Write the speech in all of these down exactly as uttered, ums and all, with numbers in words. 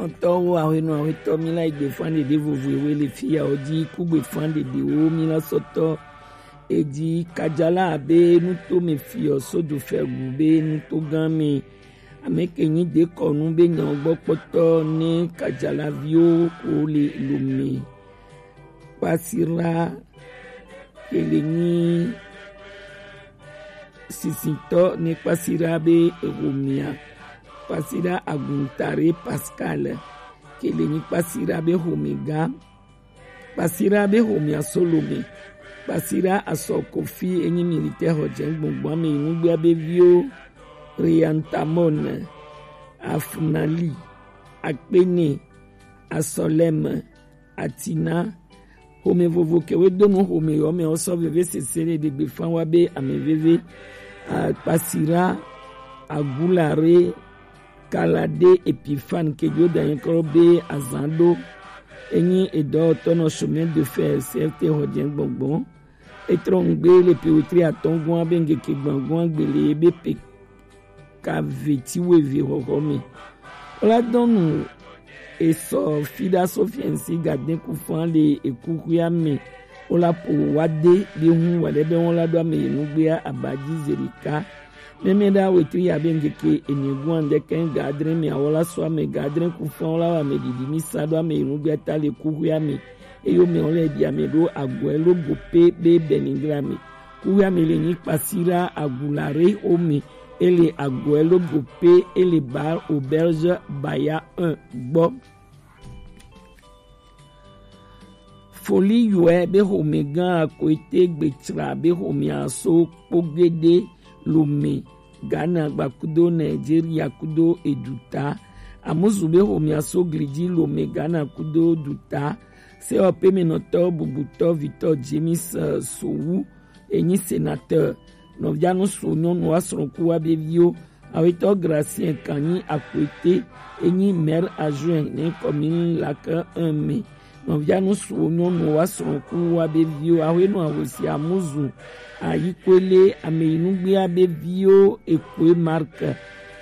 Ɔtɔwo ahwenɔ ahwetɔ mi la egbe fan ɖeɖe vovo ewe le fiya o ji kugbe fan ɖeɖewo mi la sɔtɔ eji kajala abe nuto me fiɔ sodu fɛgu be nuto gã me ame ke nyi dekɔnu be nyawo gbɔ kpɔtɔ ne kajala viwo ko le lome kpasira ke le nyi sisitɔ ne kpasira be ehomia kpasira aguntare Pascal ke le nyi kpasira be homega kpasira be homia Solome kpasira asɔ kofi enyi militaire hɔjɛ gbɔngbɔn ame inugbea be viwo Riantamon Afunali Akpene Asɔleme Atina home vovo ke we do nu home yɔ me osɔ veve sese le ɖegbe fan wa be ame veve akpasira agulare kalade epifan ke jo da yɛn kɔ be azan ɖo enyi edɔwɔtɔ nɔ chemin de fer C F T hɔjɛ gbɔngbɔn etrɔ ŋgbe le pewetri atɔngɔn abe ŋgeke gbɔngbɔn gbele be pe kaveti weve xɔxɔ me. Wola dɔnu esɔ fiɖa sofiɛnsi gaden kufan le ekuxuia me. Wola po wade bi hun wale be wola ɖo ame yenugbea abaji zerika. Mɛmɛ ɖa wetri abe ŋgeke enyegua ŋdɛkɛ gadre me awola sɔ ame gadre kufan wola wa ame ɖiɖi mi sa ɖo ame yenugbea ta le kuxuia me. Eyo me wole ɖi ame ɖo agɔe lo gope be benigra me. Kuxuia me le nyi kpasira agulare ome ele agɔe logo pe ele bar auberge baya un gbɔ. Foli yɔɛ be xomegã akoete gbetsra be xomea so kpogede lome Ghana gbakudo Nigeria kudo eduta. Amuzu be xomea so gliji lome Ghana kudo duta. Sewɔpemenɔtɔ bubutɔ vitɔ James Sowu enyi sénateur. Nɔvianu so nyɔnu wa srɔ̃ku wa be viwo. Awetɔ Gracien Kanyi Akwete enyi maire adjoint ne commune Lac un me. Nɔvianu so nyɔnu wa srɔ̃ku wa be viwo. Ahwenu ahosi amuzu ayikwele ameyinugbea be viwo ekwe Marc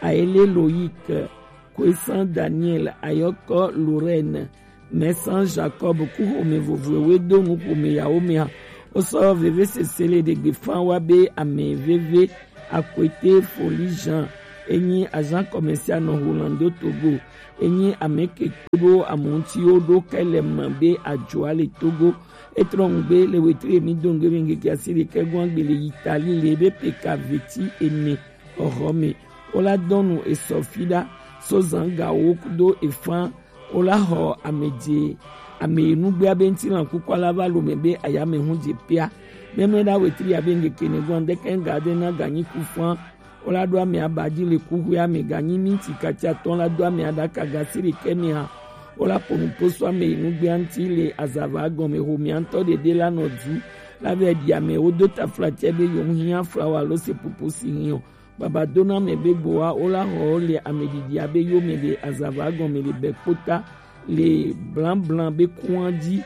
ayele Loïc Kwesant Daniel, Ayɔkɔ Lorraine, Mɛsan Jacob ku xome vovoe we do nu xome yawo mea. Wosɔ veve sese le ɖegbe fan wa be ame veve akwete Foli Jean enyi agent commercial nɔ Hollande Togo enyi ame ke kpeɖo amuti wo ɖo kɛlɛ me be ajoa le Togo. Etrɔ ŋgbe le wetri emi do ŋgbe be ŋgeke asi ɖekɛ gɔn agbe le Italie le be peka veti ene xɔxɔ me. Wola dɔnu esɔ fi ɖa so zan gawo kudo efan. Wola xɔ amedze ame nugbea be ŋutilã kuku ala va lome be ayame hu dze pea. Mɛmɛ ɖa wetri abe ŋgeke ne gɔn deke ŋga de na ganyi ku fan. Wola ɖo ame aba dzi le kuxuea me ganyi minti kati atɔ̃ la do ame aɖaka gasi ɖekɛ me hã. Wola ƒo nu ƒo so ame yi nugbea ŋuti le azava gɔme xomea ŋutɔ ɖeɖe la nɔ du. La vɛ ɖi ame wodo taflatse be yom hiã flawa alo seƒoƒo si hiã o. Baba dona ame be gboa wola xɔ wo le ame ɖiɖia be yome le azava gɔme le bɛkpota le blaŋblaŋ be kua dzi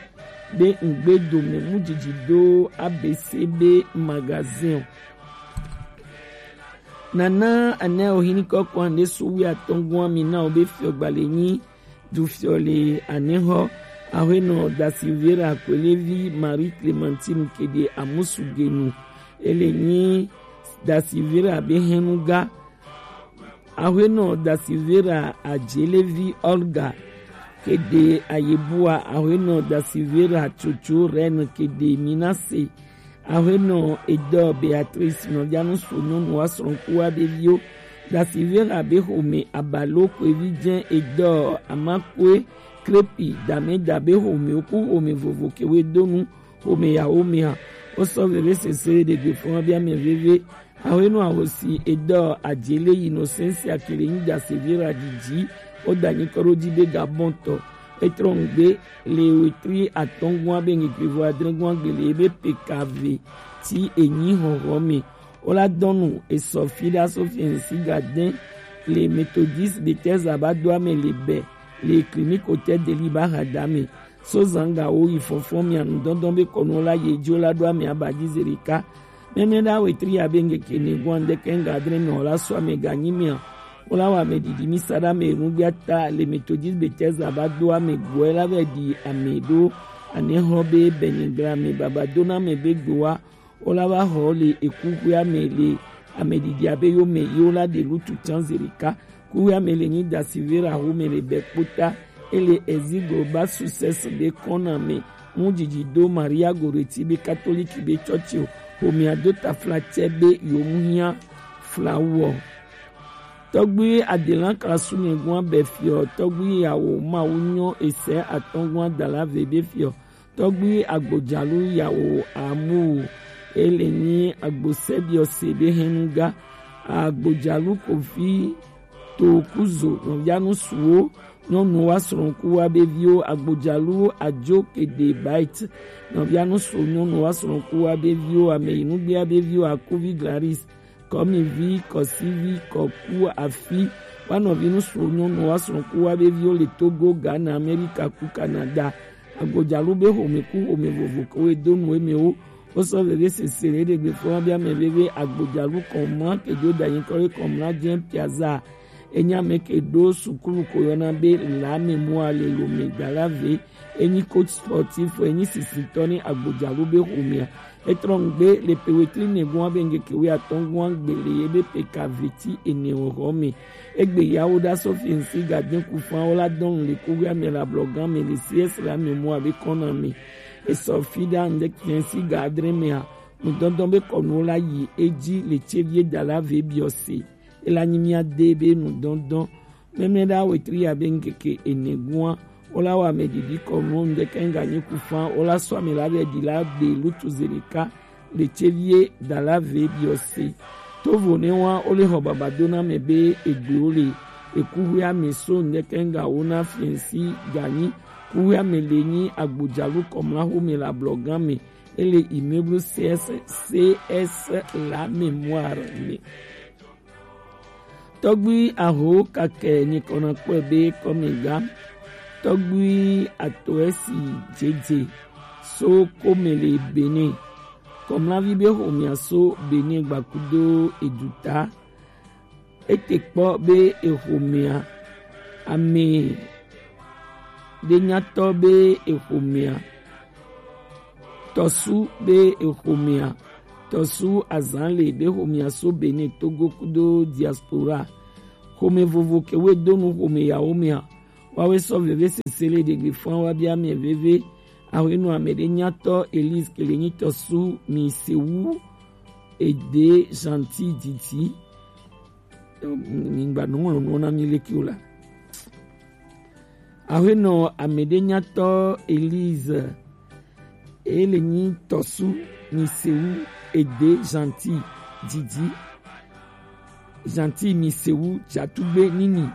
be ŋgbe dome mu dzidzi do A B C be magazin o. Nana ane o hini kɔkɔ ande so wi atɔngua mi na o be fiɔ gbale nyi du fiɔ le ane hɔ. Ahenɔ da Silvera Kwelevi Marie Clementine kede amusu genu. Ele nyi da Silvera be henu ga. Ahenɔ da Silvera Ajelevi Olga kede ayebua. Ahenɔ da Silvera Tsotso Reine kede Minase. Ahenɔ edɔ Beatrice nɔvianu so nyɔnu wa srɔ̃kua ɖeviwo. Da Silvera be xome abalo koevi dze edɔ amakue krepi dameda be xome oku xome vovo kewe donu xome yawo mea. Wosɔ veve sese ɖegbe fɔn bia me veve. Awenɔ ahosi edɔ adzele yi nɔ sensi akele nyi da Silvera didi. Woda nyi kɔɖo dzi be gabɔntɔ. Etrɔ ŋgbe le wetri atɔngua be nyigrivo adrengua gbele ebe pekave ti enyi hɔhɔ me. Wola dɔnu esɔ fi ɖa so fiɛnsi gadɛn le Methodist Bethesda ba do ame le bɛ le clinique hôtel de Liba hada me. So zanga wo yi fɔnfɔn mia nu dɔndɔn be kɔnu la ye jo la do ame aba ji zerika. Mɛmɛ ɖa wetri ya be ŋgeke ne gwan de kenga adre me la so ame ganyi mia. Wo la wa ame ɖiɖi mi sa ɖe ame nugbiata le Methodist Bethesda ba do ame gbɔe la vɛ ɖi ame ɖo ane hɔ be bɛnyɛ gla ame baba do na ame be gboa. Wo la va xɔ le ekuxuia me le ame ɖiɖia be yo me yi wo la ɖe lutu can zerika. Kuxuia me le nyi da silvera xo me le bɛ kpota. Ele ezigbo ba success be kɔna me mu jiji do Maria Goretti be katoliki be chɔchi o. Xomea do tafla cɛ be yo mu hiã flawu ɔ. Tɔgbui adelan klasu nyɛgua bɛ fiɔ, tɔgbui yawo mawu nyɔ esɛ atɔngua dala ve be fiɔ, tɔgbui agbojalu yawo amu ele nyi agbosɛbiɔ se be hɛnuga, agbojalu kofi to kuzo nɔvianu suwo nyɔnu wa srɔ̃ku wa be viwo, agbojalu ajo kede bait nɔvianu suwo nyɔnu wa srɔ̃ku wa be viwo, ame yi nugbea be viwo akuvi glaris kɔmivi, kɔsivi, kɔku, afi, wa nɔvi nusu nyɔnu wa srɔ̃ku wa be viwo le Togo, Ghana, Amerika ku Canada. Agbojalu be xome ku xome vovo ke wo do nu emewo. Wo sɔ veve sese le ɖe gbe fɔ wa be ame veve agbojalu kɔmla ke jo da nyi kɔ le kɔmla jɛ piazza. Enya me ke ɖo sukulu ko yɔna be la memoire le lo me da la ve. Enyi coach sportif, enyi sisitɔ ni agbojalu be xomea. Etrɔ ŋgbe le pe wetri nɛgua be ŋgeke wi atɔngua gbe le ye be pe ka veti ene o xɔ me. Egbe yawo da sɔ fiɛnsi ga den ku fan wo la dɔn le kuɣia me la blɔgan me le C S la me mu abe kɔna me. Esɔ fi da ŋde fiɛnsi ga adre mea. Nudɔndɔn be kɔnuwo la yi edzi le tsevie da la ve biɔ se. Ela nyi mía de be nudɔndɔn. Mɛmlɛ ɖa wetri ya be ŋkeke ene gua, wo la wa ame ɖiɖi kɔnu ŋdeke ŋga nyi ku fan, wo la sɔ ame la be ɖi la be lutu zeleka le tsevie da la ve biɔ se. Tovo ne wa wo le xɔ baba do na me be egbe wo le ekuhwe ame so ŋdeke ŋga wo na fiɛnsi ganyi kuhwe ame le nyi agbojalu kɔmla xome le ablɔgan me. Ele immeuble C S, C S la mémoire me. Tɔgbui aho kakɛ nyikɔna kpɔe be kɔmiga. Tɔgbui atoɛsi jeje so kome le Benin. Kɔmlavi be xomia so Benin gbakudo eduta. Ete kpɔ be exomea, ame ɖe nyatɔ be exomea, tɔsu be exomea, tɔsu azan le be xomea so Benin Togo kudo diaspora. Xome vovo ke we do nu xome yawo mea, wawe sɔ veve sese le ɖegbe fɔn wa bia mɛ veve. Awenɔ ame ɖe nyatɔ Elise ke le nyi tɔsu mi se wu ede Gentil Didi. Mi gba nu ŋlɔ nu na mi leke o la. Awenɔ ame ɖe nyatɔ Elise ele nyi tɔsu mi se wu ede Gentil Didi. Gentil mi se wu jatugbe nini.